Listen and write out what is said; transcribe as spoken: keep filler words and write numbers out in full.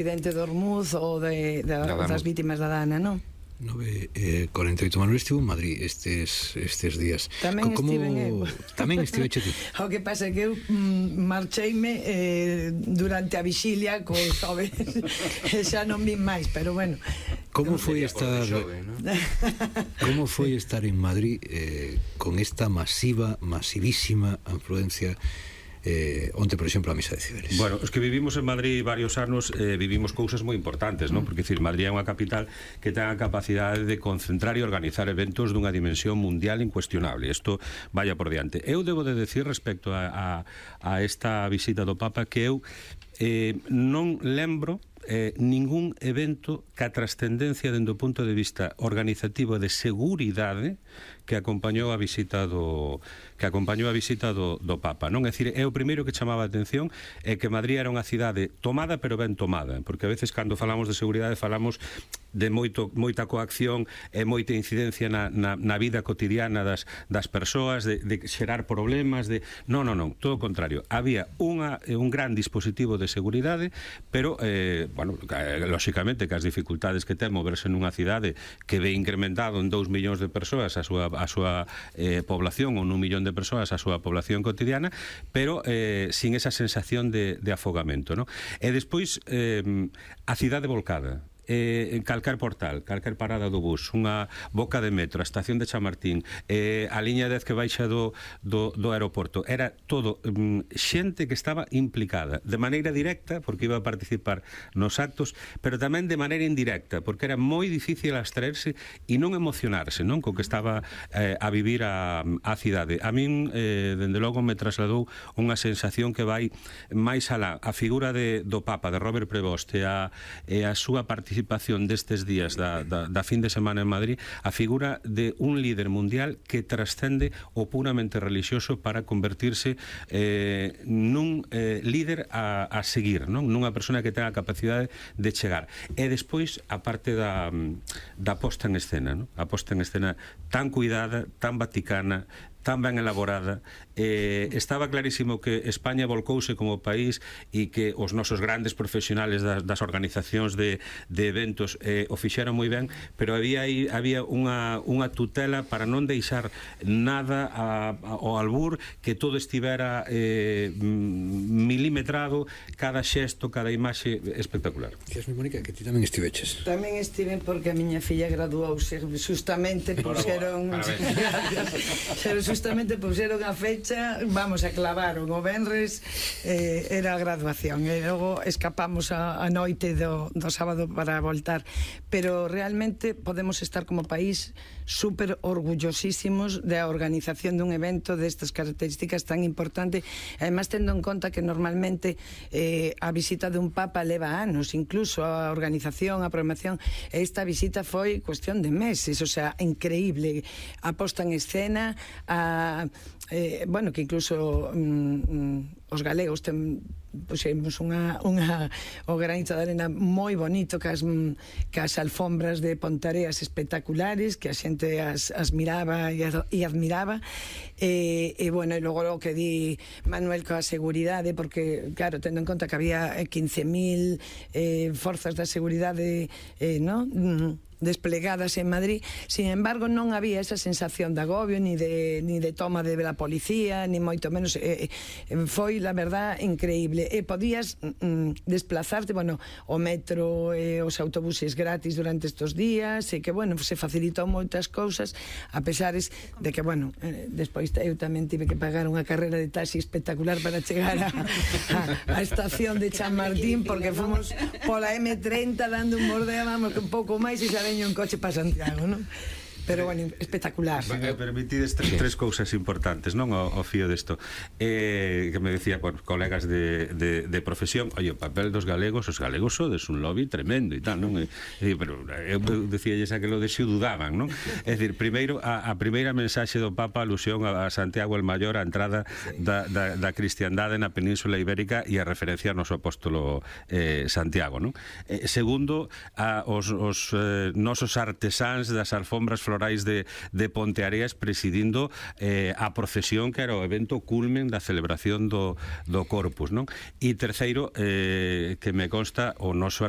Presidente do Ormuz ou de, de, das vítimas da Dana, non? nove e cuarenta e oito. Manuel estivo en Madrid estes, estes días. Tamén Como... estive eu. Tamén estive ti. O que pasa é que eu mm, marcheime eh, durante a vixilia co xoves e xa non vin máis, pero bueno. Como foi estar xove, ¿no? Como foi estar en Madrid eh, con esta masiva, masivísima afluencia eh, onte, por exemplo, a misa de Ciberes? Bueno, os que vivimos en Madrid varios anos eh, vivimos cousas moi importantes, non? Porque, decir, Madrid é unha capital que ten a capacidade de concentrar e organizar eventos dunha dimensión mundial incuestionable. Isto vaya por diante. Eu debo de decir respecto a, a, a esta visita do Papa que eu eh, non lembro eh, ningún evento que a trascendencia dende o punto de vista organizativo de seguridade que acompañou a visita do que acompañou a visita do, do Papa, non? É dicir, é o primeiro que chamaba a atención é que Madrid era unha cidade tomada pero ben tomada, porque a veces cando falamos de seguridade falamos de moito, moita coacción e moita incidencia na, na, na vida cotidiana das, das persoas, de, de xerar problemas, de... Non, non, non, todo o contrario. Había unha, un gran dispositivo de seguridade, pero, eh, bueno, lóxicamente que as dificultades que ten moverse nunha cidade que ve incrementado en dous millóns de persoas a súa, a súa eh, población, ou nun millón de persoas a súa población cotidiana, pero eh, sin esa sensación de, de afogamento, non? E despois, eh, a cidade volcada. Eh, calcar portal, calcar parada do bus, unha boca de metro, a estación de Chamartín, eh, a liña dez que baixa do, do, do aeroporto, era todo um, xente que estaba implicada de maneira directa, porque iba a participar nos actos, pero tamén de maneira indirecta, porque era moi difícil abstraerse e non emocionarse, non, co que estaba eh, a vivir a, a cidade. A min, eh, dende logo, me trasladou unha sensación que vai máis alá. A figura de, do Papa, de Robert Prevost, e a, e a súa participación participación destes días da, da, da fin de semana en Madrid, a figura de un líder mundial que trascende o puramente religioso para convertirse eh, nun eh, líder a, a seguir, non? Nunha persona que ten a capacidade de chegar. E despois a parte da, da posta en escena, non? A posta en escena tan cuidada, tan vaticana, tan ben elaborada. Eh, estaba clarísimo que España volcouse como país e que os nosos grandes profesionales das, das organizacións de, de eventos eh, o fixeron moi ben, pero había aí había unha, unha tutela para non deixar nada a, a, ao albur, que todo estivera eh, milimetrado, cada xesto, cada imaxe espectacular. Díasme, Mónica, que ti tamén estiveches. Tamén estive porque a miña filla graduouse justamente por xeron justamente puxeron a fecha, vamos, a clavaron o venres, eh, era a graduación, e logo escapamos a, a noite do, do sábado para voltar, pero realmente podemos estar como país super orgullosísimos da organización dun evento destas características tan importante, además tendo en conta que normalmente eh, a visita dun Papa leva anos, incluso a organización, a programación, esta visita foi cuestión de meses, o sea, increíble, a posta en escena, a eh, bueno, que incluso mm, os galegos ten, puxemos unha, unha o granito de arena moi bonito, cas, cas alfombras de Pontareas espectaculares, que a xente as, as miraba e, e admiraba, e, e bueno, e logo o que di Manuel coa seguridade, porque claro, tendo en conta que había quince mil eh, forzas da seguridade, eh, no? Mm, desplegadas en Madrid, sin embargo non había esa sensación de agobio ni de, ni de toma de la policía, ni moito menos, eh, foi la verdad increíble, e podías mm, desplazarte, bueno, o metro e eh, os autobuses gratis durante estos días, e que bueno, se facilitou moitas cousas, a pesares de que bueno, eh, despois eu tamén tive que pagar unha carrera de taxi espectacular para chegar a, a, a estación de Chamartín, porque fomos pola eme treinta dando un bordeo, vamos, que un pouco máis e xa veño un coche para Santiago, non? Pero, bueno, espectacular. Me permitides tres, tres cousas importantes, non, ao, ao fío desto. Eh, que me decía, bueno, colegas de, de, de profesión, oye, o papel dos galegos, os galegos sodes un lobby tremendo e tal, non? E, e, pero eu decía xa que lo de si dudaban, non? É dicir, primeiro, a, a primeira mensaxe do Papa alusión a, a Santiago el Maior, a entrada da, da, da cristiandade na Península Ibérica e a referencia ao noso apóstolo eh, Santiago, non? Eh, segundo, a, os, os eh, nosos artesáns das alfombras florais de, de Ponteareas presidindo eh, a procesión que era o evento culmen da celebración do, do Corpus, non? E terceiro, eh, que me consta o noso